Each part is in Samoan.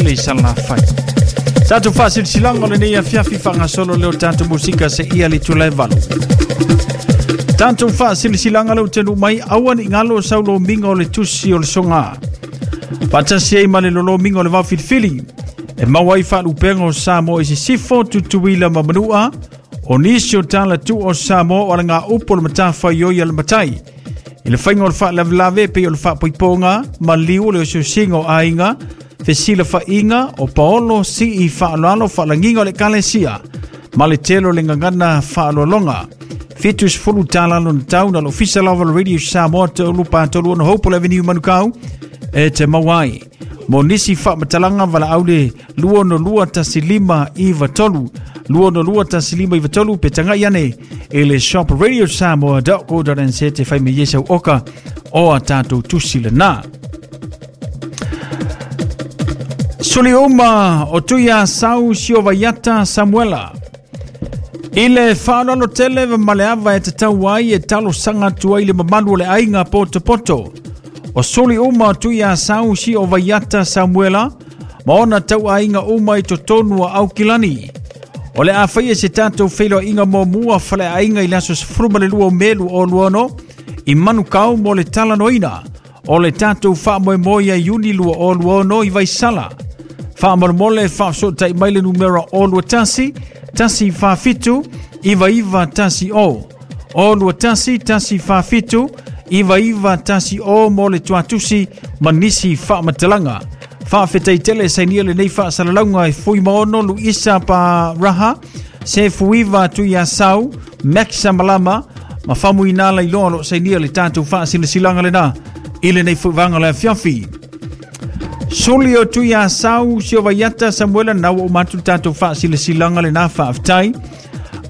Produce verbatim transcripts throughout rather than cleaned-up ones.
tele i Salafai. Tatou faasilasilaga o lenei afiafi faagasolo leo tatou musika se ia le itula e valu. Tatou faasilasilaga leo tenu mai aua ni galo saulomiga o le tusi o le soga. Faatasi ai ma le lolomiga o le vaofilifili. E maua ai faalupega o Samoa i sisifo, Tutuila ma Manua, o nisi o talatu o Samoa o alagaupu o le matafaioi a le matai. I le faiga o le faalavelave pei o le faapoipoga, maliu o le osiosiga o aiga, fesilafaiga o paolo sii faaaloalo faalagiga o le ekalesia, ma le tele o le gagana faaaloaloga. Fitu sefulu tala lona tau na le ofisa lava o le Radio Samoa tolu pa tolu ono Hopewell Avenue Manukau e te maua ai. Mo nisi faamatalaga valaau le lua ono lua tasi lima iva tolu lua ono lua tasi lima iva tolu pe tagai ane i le shop radio samoa dot co dot n z te fai mai ai sau oka o a tatou tusi lena. Suli uma o Tuia Sau Siovaiata Samuela. I le faaaloalo tele ma le ava e tatau ai e talosaga atu ai le mamalu o le aiga potopoto. O suli uma o Tuia Sau Siovaiata Samuela ma ona tauaiga uma i totonu o Aukilani. O le a faia se tatou feiloaiga muamua faleaiga i le aso sefulu ma le lua o Me lua o lua ono i Manukau mo le talanoaina o le tatou faamoemoe ia Iuni lua o lua ono i Vaisala. Faamolemole faafesootai mai le numera o lua tasi, tasi fa fitu, iva iva tasi o. O lua tasi, tasi fa fitu, iva iva tasi o mo le tuatusi ma nisi faamatalaga. Faafetai tele sainia lenei faasalalauga e Fuimaono Luisa Pa Raha, se Fuiva Tuiasau, Maxa Malama, ma Famuina Lailoa lo sainia le tatou faasilasilaga lena i lenei fuivaga le afiafi. Suli o Tuiasau Siovaiata Samuela na ua uma atu le tatou faasilasilaga lena faafetai.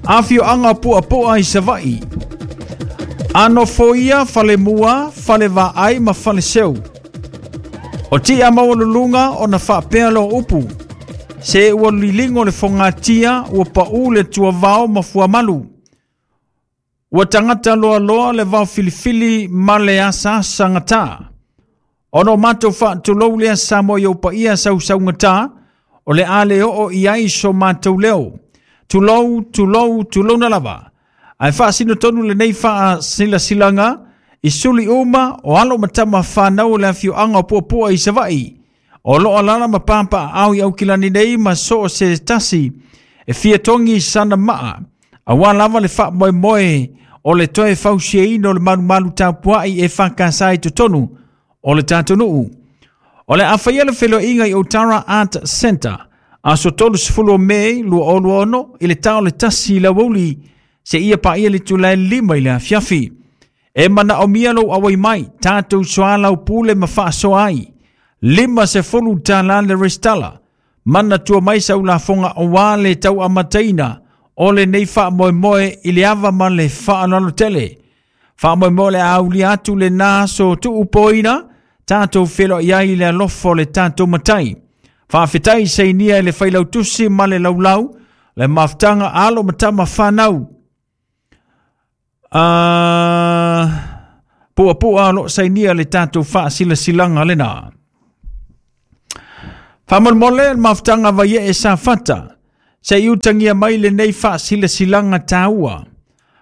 Afioaga Puapu'a i Savaii. Anofoia falemua, falevaai ma faleseu. O tia maualuluga ona faapea loo upu. Se ua liligo le fogatia, ua pau le tuavao ma fuamalu. Ua tagata loaloa le vaofilifili ma le asaasagata. Ona o matou faatulou lea Samoa i ou paia sausaugata, o le a le oo i ai so matou leo. Tulou, tulou, tulouna lava. Ae faasino tonu lenei faasilasilaga i suli uma o alo ma tama whanau o le afioaga o Puapua i Savaii. O loo alala ma pāpaaao i Aukilani nei ma so o se tasi e fia togi sana maa. Auā lava le faamoemoe o le toe fausiaina o le malumalu tapuai e whakasa i totonu o le tatou nuu. O le a faia le feiloaiga i Otara Art Center aso tolu sefulu o Me lua o lua ono i le ta o le tasi i le aoauli seia paia le itula e lima i le afiafi. E manaomia lou auai mai, tatou soalaupule ma faasoa ai. Lima sefulu tala le restala. Manatua mai sau lafoga auā le tau amataina o lenei faamoemoe i le ava ma le faaaloalo tele. Faamoemoe le aulia atu lena aso tuupoina, tatou feiloai ai i le alofa o le tatou matai. Faafetai sainia i le failautusi ma le laulau, le mafutaga alo ma tama whanau. Uh, Puapua lo sainia le tatou faasilasilaga lena. Faamolemole le mafutaga vaie e safata. Se i utagia mai lenei faasilasilaga taua.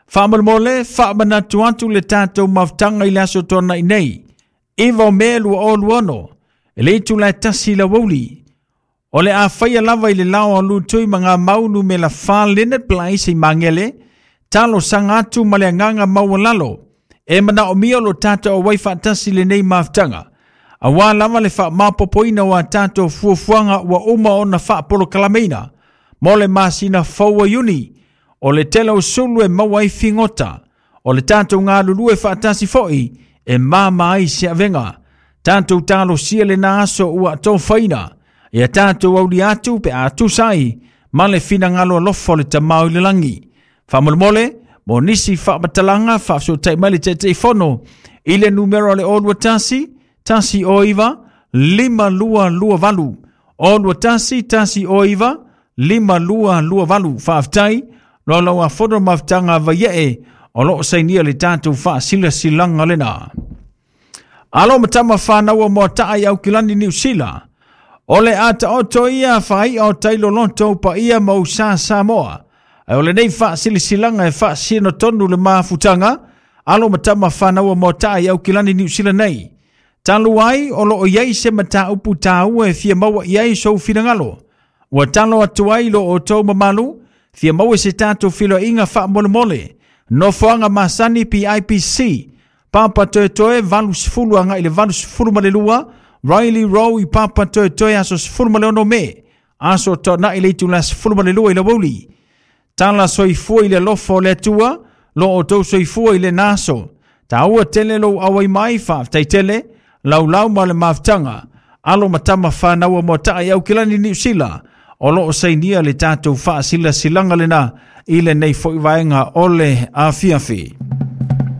Faamolemole faamanatu atu le tatou mafutaga i le aso tuanai nei. Iva o Me lua o lua ono. E le itula e tasi i le aoauli. O le a faia lava i le lao a Lutui ma ngā mau numera fa Leonard Place i Magele, talosaga atu ma le agaga maualalo. E manaomia lo tatou auai faatasi lenei mafutaga. Auā lava le faamaopoopoina o a tatou fuafuaga ua uma ona faapolokalameina. Mo le masina fou o Iuni, o le tele o sulu e maua ai figota. O le tatou galulue faatasi foi e mama ai se avega. Tatou talosia lena aso ua tofaina. Ia tatou aulia atu pe a tusa ai ma le finagalo alofa o le Tamā i le lagi. Faamolemole, mo nisi faamatalaga faafesootai mai le Taitaifono i le numera o le o lua tasi, tasi o iva, lima lua lua valu. O lua tasi, tasi o iva, lima lua lua valu. Faafetai, laulau a fono mafutaga vaiee o loo sainia le tatou faasilasilaga lena. Alo ma tama whanau o Moata'a i Aukilani Niu Sila. O le ataoto ia fai o tailoloto paia ma usa Samoa. Ai o lenei faasilasilaga e faasino tonu le mafutaga alo ma tama fanau mo tai au kilani Niu Sila nei. Talu ai o loo iai se mataupu taua e fia maua i ai sou finagalo. Ua talo atu ai lo outou mamalu, fia maua se tatou filoiga faamolemole. Nofoaga masani P I P C, Papa Toetoe valu sefulu agai le valu sefulu ma le lua, Riley Row i Papa Toetoe aso sefulu ma le ono Me, aso toanai le itula sefulu ma le lua i le aoauli. Tala soifua i le alofa o le Atua, lo outou soifua i le naso. Taua tele lou auai mai faafetai tele, laulau ma le mafutaga, alo ma tama fanau mo tai au kilani Niu Sila, o loo sainia le tatou faasilasilaga lena i lenei foi vaega o le afiafi.